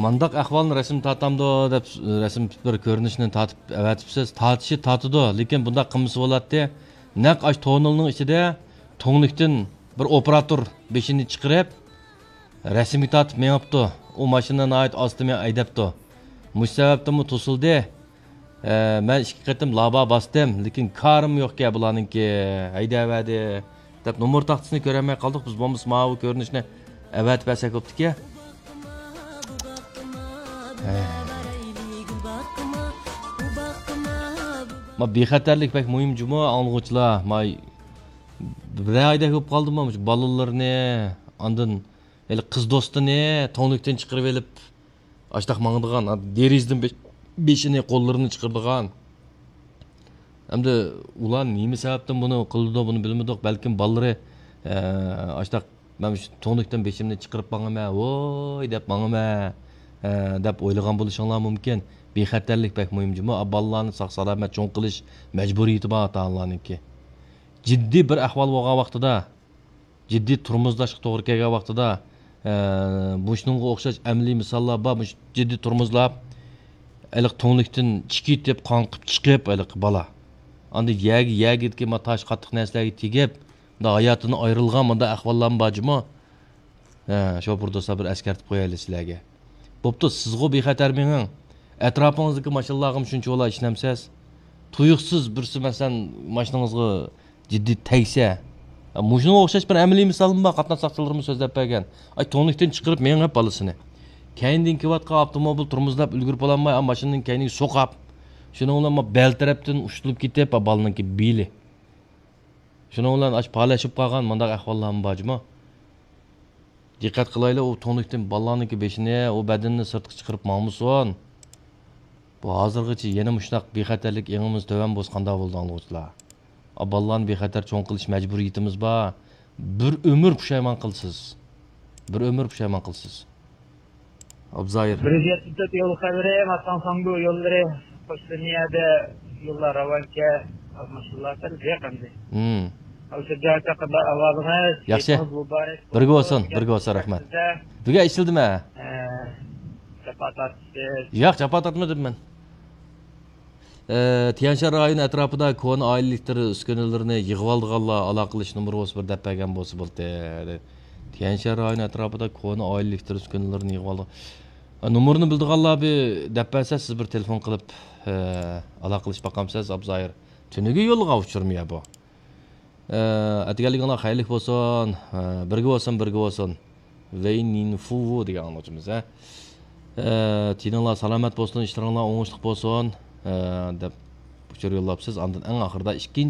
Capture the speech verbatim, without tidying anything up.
مانداق ئەھۋالنى رەسىم تارتامدۇ دەپ، رەسىم بىر كۆرۈنۈشنى تارتىپ ئەۋەتىپسىز. تارتىشى تارتىدۇ، لېكىن بۇنداق قىلمىسا بولاتتى. نەق ئاش تونېلنىڭ ئىچىدە تۈڭلۈكتىن بىر ئوپېراتور بېشىنى چىقىرىپ، رەسىمگە تارتىپ مېڭىپتۇ. ئۇ ماشىنا ناھايىتى ئاستا مېڭىپ ھەيدەپتۇ. مۇشۇ سەۋەبتىنمۇ توسۇلدى. ئە، مەن ئىككى قېتىم لابا باستىم، لېكىن كارىم يوقكەن بۇلارنىڭكى، ھەيدەۋەردى دەپ نومۇر تاختىسىنى كۆرەلمەي قالدۇق. بىز بولمىسا ماۋۇ كۆرۈنۈشنى ئەۋەتىپ بەرسەك بوپتىكەن. ھە. ما بىخەتەرلىك بەك مۇھىم جۇمۇ، ئاڭلىغۇچىلار. ما بىر ھەيدەك بولۇپ قالدىمۇ، مۇشۇ بالىلىرىنى، ئاندىن ھېلى قىز دوستىنى تۈڭلۈكتىن چىقىرىپ ئېلىپ، ئاشتاق ماڭىدىغان، دېرىزىدىن بېش-، بېشىنى، قوللىرىنى چىقىرىدىغان. ئەمدى ئۇلار نېمە سەۋەبتىن بۇنى قىلىدۇ، بۇنى بىلمىدۇق. بەلكىم بالىلىرى، ئە، ئاشتاق، مەن مۇشۇ تۈڭلۈكتىن بېشىمنى چىقىرىپ ماڭىمەن، ۋوي دەپ ماڭىمەن، ئە، دەپ ئويلىغان بولۇشۇڭلار مۇمكىن. بىخەتەرلىك بەك مۇھىم جۇمۇ. ئا، بالىلارنى ساق-سالامەت چوڭ قىلىش مەجبۇرىيىتى بار ئاتا-ئانىلارنىڭكى. جىددىي بىر ئەھۋال بولغان ۋاقتىدا، جىددىي تورمۇزلاشقا توغرا كەلگەن ۋاقتىدا، ئە، مۇشۇنىڭغا ئوخشاش ئەمەلىي مىساللار بار. مۇشۇ جىددىي تورمۇزلاپ، ھېلىقى تۈڭلۈكتىن چىقىپ، قاڭقىپ چىقىپ، ھېلىقى بالا. ئاندىن يەرگە، يەرگىدىكى ما تاش قاتتىق نەرسىلەرگە تېگىپ، مۇنداق ھاياتىدىن ئايرىلغان مۇنداق ئەھۋاللارمۇ بار جۇمۇ. ھە، شوپۇر دوستلار، بىر ئەسكەرتىپ قويايلى سىلەرگە. بوپتۇ، سىزغۇ بىخەتەر مېڭىڭ. ئەتراپىڭىزدىكى ماشىنىلارغىمۇ شۇنچە ئىشىنەمسىز؟ تۇيۇقسىز بىرسى، مەسىلەن، ماشىنىڭىزغا جىددىي تەگسە، مۇشۇنىڭغا ئوخشاش بىر ئەمەلىي مىسالمۇ بار، قاتناش ساقچىلىرىمۇ سۆزلەپ بەرگەن. ئاي، تۈڭلۈكتىن چىقىرىپ مېڭىپ بالىسىنى. كەينىدىن كېلىۋاتقان ئاپتوموبىل تورمۇزلاپ ئۈلگۈرۈپ بولالماي، ئا، ماشىنىنىڭ كەينىگە سوقاپ، شۇنىڭ بىلەن ما بەل تەرەپتىن ئۇشتۇلۇپ كېتىپ، ئا، بالىنىڭكى بېلى. شۇنىڭ بىلەن ئاش پالەچلىپ قالغان مۇنداق ئەھۋاللارمۇ بار جۇمۇ. دىققەت قىلايلى، ئۇ تۈڭلۈكتىن بالىلارنىڭكى بېشىنى، ئۇ بەدىنىنى سىرتقا چىقىرىپ ماڭمىسۇن. بۇ ھازىرغىچە يەنە مۇشۇنداق بىخەتەرلىك ئېڭىمىز تۆۋەن بولسا قانداق بولىدۇ، ئاڭلىغۇچىلار؟ ئا، بالىلارنى بىخەتەر چوڭ قىلىش مەجبۇرىيىتىمىز بار. بىر ئۆمۈر پۇشايمان قىلىسىز. بىر ئۆمۈر پۇشايمان قىلىسىز. ئابزايىر. بىر يۈز يەتمىش تۆت يول خەۋىرى، ماتاڭ ساڭگۇ يوللىرى، قوش لىنىيەدە يوللار راۋانكە، ماشىنىلار تېز يېقىندى. ھىم. ئاشۇ جاي چاقىدا ئاۋازىڭىز، ياخشى. كېچىڭىز مۇبارەك بولسۇن. بىرگە بولسۇن، بىرگە بولسۇن، رەھمەت. سىزدە. بۈگۈن ئىشلىدىم ھە. ئە، جاپا تارتىسىز. ياق، جاپا تارتمىدىم مەن. ئە، تيەنشان رايونى ئەتراپىدا كونا ئائىلە ئېلېكتر ئۈسكۈنىلىرىنى يىغىۋالىدىغانلار ئالاقىلىشىش نومۇرى بولسا بىر دەپ بەرگەن بولسا بولدى. تيەنشان رايونى ئەتراپىدا كونا ئائىلە ئېلېكتر ئۈسكۈنىلىرىنى يىغىۋالىدىغان. ئە، نومۇرنى بىلىدىغانلار بىر دەپ بەرسە، سىز بىر تېلېفون قىلىپ، ئە، ئالاقىلىشىپ باقامسىز، ئابزايىر؟ تۈنۈگۈن يوللىغان ئۇچۇرمۇ يا بۇ؟ ئە، ئەتىگەنلىكىڭلار خەيرلىك بولسۇن. ئە، بىرگە بولسۇن، بىرگە بولسۇن. ۋېي نىن فۇۋۇ دېگەن ئاڭلىغۇچىمىز، ھە. ئە، تېنىڭلار سالامەت بولسۇن، ئىشلىرىڭلار ئوڭۇشلۇق بولسۇن، ئە، دەپ ئۇچۇر يوللاپسىز. ئاندىن ئەڭ ئاخىرىدا ئىككىنچى